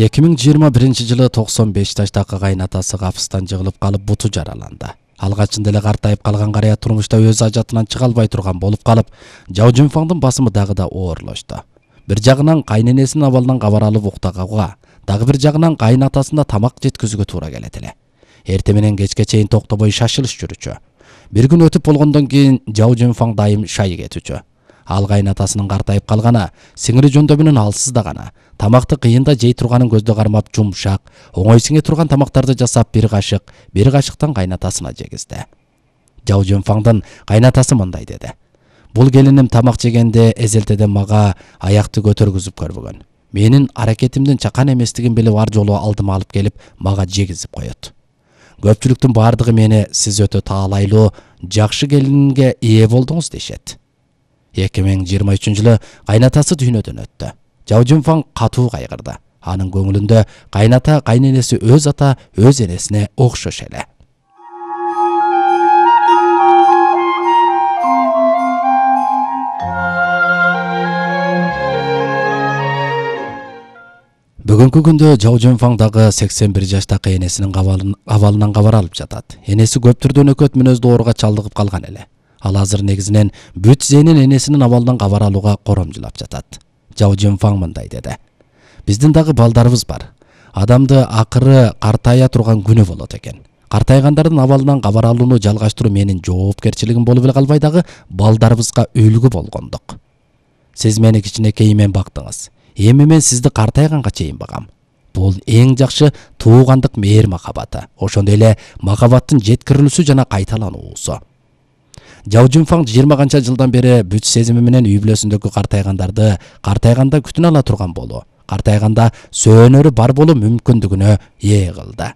2021-жылы 95 жаштагы кайнатасы капыстан жыгылып калып буту жараланды. Алгачында эле картайып калган карыя турмушта өз ажатынан чыга албай турган болуп калып, Жао Жунфаңдын басымы дагы да оорлошту. Бир жагынан кайненесинин абалынан кабар алып уктагага, дагы бир жагынан кайнатасына тамак жеткизүүгө туура келет эле. Эртең менен кечке чейин токтобой шашылыш жүрүчү. Бир күн өтүп болгондон кийин Жао Жунфаң дайым шай кетүүчү. Ал кайнатасынын картайып калгана, сиңири жөндөмүнүн алсыздагана, тамакты кыйында жей турганын көздө кармап жумшак, оңой сиңе турган тамактарды жасап бир кашыктан кайнатасына жегизди. Жао Жунфаңдын кайнатасы мындай деди: "Бул келиним тамак жегенде эзелтеден мага аякты көтөргүзүп көрбөгөн. Менин аракетимдин чакан эместигин билип ар жолу алдыма алып келип мага жегизип коет. Көпчүлүктүн бардыгы мени сиз өтө таалайлуу, жакшы келинге ээ болдуңуз дешет." 2023-жылы кайнатасы дүйнөдөн өттү. Жао Жунфаң катуу кайгырды. Анын көңүлүндө кайната кайненеси өз ата, өз энесине окшош эле. Бүгүнкү күндө Жао Жунфаң дагы 81 жаштагы энесинин абалынан кабар алып жатат. Энеси көптүр дөнөкөт мүнөздүү ооруга чалдыгып калган эле. Ал азыр негизинен бүт зээнин энесинин абалынан кабар алууга коромжулап жатат. Жао Жунфаң мындай деди: "Биздин дагы балдарыбыз бар. Адамды акыры картая турган күнү болот экен. Картайгандардын абалынан кабар алууну жалгаштыруу менин жоопкерчилигим болуп эле калбай дагы балдарыбызга үлгү болгондук. Сиз мени кичинекейимен бактыңыз. Эми мен сизди картайганга чейин багам. Бул эң жакшы туугандык мээр махабаты. Ошондой эле махабаттын жеткирилүүсү жана кайталануусу." Жао Жунфаң 20 канча жылдан бери бүт сезими менен үй бүлөсүндөгү картайгандарды картайганда күтүнө ала турган болуу, картайганда сөөнөрү бар болуу мүмкүндүгүнө ээ кылды.